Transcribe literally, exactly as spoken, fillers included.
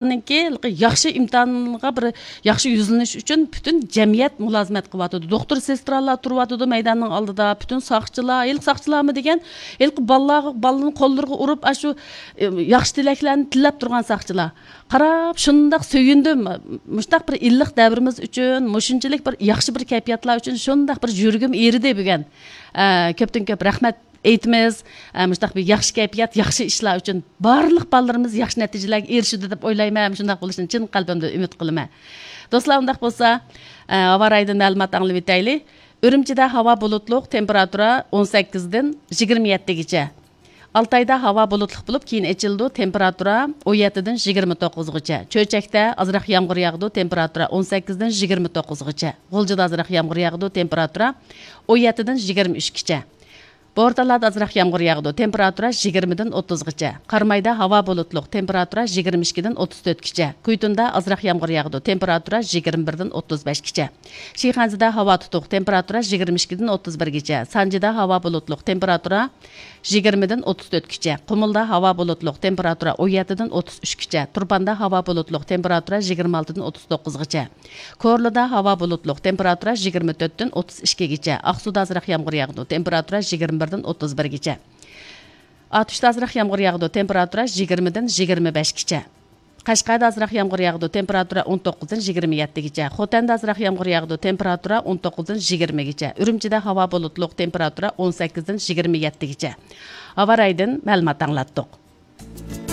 ئىمتىھاننىڭكى ياخشى ئىمتىھانغا بىر ياخشى يۈزلىنىش ئۈچۈن پۈتۈن جەمئىيەت مۇلازىمەت قىلىۋاتىدۇ. دوختۇر، سېسترالار تۇرۇۋاتىدۇ مەيداننىڭ ئالدىدا، پۈتۈن ساقچىلار، ھېلىقى ساقچىلارمۇ دېگەن، ھېلىقى بالىلارغا، بالىنىڭ قوللىرىغا ئۇرۇپ، ئاشۇ، ئە، ياخشى تىلەكلەرنى تىلەپ تۇرغان ساقچىلار. قاراپ شۇنداق سۆيۈندۈم. مۇشۇنداق بىر ئىللىق دەۋرىمىز ئۈچۈن مۇشۇنچىلىك بىر ياخشى بىر كەيپىياتلار ئۈچۈن شۇنداق بىر يۈرىكىم ئېرىدى بۈگۈن. ئە، كۆپتىن كۆپ رەھمەت ئېيتىمىز. ئە، مۇشۇنداق بىر ياخشى كەيپىيات، ياخشى ئىشلار ئۈچۈن بارلىق بالىلىرىمىز ياخشى نەتىجىلەرگە ئېرىشىدۇ دەپ ئويلايمەن. شۇنداق بولۇشىنى چىن قەلبىمدىن ئۈمىد قىلىمەن. دوستلار، ئۇنداق بولسا، ئە، ھاۋا رايىدىن مەلۇمات ئاڭلىۋېتەيلى. ئۈرۈمچىدە ھاۋا بۇلۇتلۇق، تېمپېراتۇرا ئون سەككىزدىن يىگىرمە يەتتىگىچە. ئالتايدا ھاۋا بۇلۇتلۇق بولۇپ، كېيىن ئېچىلىدۇ، تېمپېراتۇرا ئون يەتتىدىن يىگىرمە توققۇزغىچە. چۆچەكتە ئازراق يامغۇر ياغىدۇ، تېمپېراتۇرا ئون سەككىزدىن يىگىرمە توققۇزغىچە. غۇلجىدا ئازراق يامغۇر ياغىدۇ، تېمپېراتۇرا ئون يەتتىدىن يىگىرمە ئۈچكىچە. بورتالادا ئازراق يامغۇر ياغىدۇ، تېمپېراتۇرا يىگىرمىدىن ئوتتۇزغىچە. قارامايدا ھاۋا بۇلۇتلۇق، تېمپېراتۇرا يىگىرمە ئىككىدىن ئوتتۇز تۆتكىچە. كۇيتۇندا ئازراق يامغۇر ياغىدۇ، تېمپېراتۇرا يىگىرمە بىردىن ئوتتۇز بەشكىچە. شىخەنزىدە ھاۋا تۇتۇق، تېمپېراتۇرا يىگىرمە ئىككىدىن ئوتتۇز بىرگىچە. سانجىدا ھاۋا بۇلۇتلۇق، تېمپېراتۇرا يىگىرمىدىن ئوتتۇز تۆتكىچە. قۇمۇلدا ھاۋا بۇلۇتلۇق، تېمپېراتۇرا ئون يەتتىدىن ئوتتۇز ئۈچكىچە. تۇرپاندا ھاۋا بۇلۇتلۇق، تېمپېراتۇرا يىگىرمە ئالتىدىن ئوتتۇز توققۇزغىچە. كورلىدا ھاۋا بۇلۇتلۇق، تېمپېراتۇرا يىگىرمە تۆتتىن ئوتتۇز ئىككىگىچە. ئاقسۇدا ئازراق يامغۇر ياغىدۇ، تېمپېراتۇرا يىگىرمە بىردىن ئوتتۇز بىرگىچە. ئاتۇشتا ئازراق يامغۇر ياغىدۇ، تېمپېراتۇرا يىگىرمىدىن يىگىرمە بەشكىچە. قەشقەردە ئازراق يامغۇر ياغىدۇ، تېمپېراتۇرا ئون توققۇزدىن يىگىرمە يەتتىگىچە. خوتەندە ئازراق يامغۇر ياغىدۇ، تېمپېراتۇرا ئون توققۇزدىن يىگىرمىگىچە. ئۈرۈمچىدە ھاۋا بۇلۇتلۇق، تېمپېراتۇرا ئون سەككىزدىن يىگىرمە يەتتىگىچە. ھاۋا رايىدىن مەلۇمات ئاڭلاتتۇق.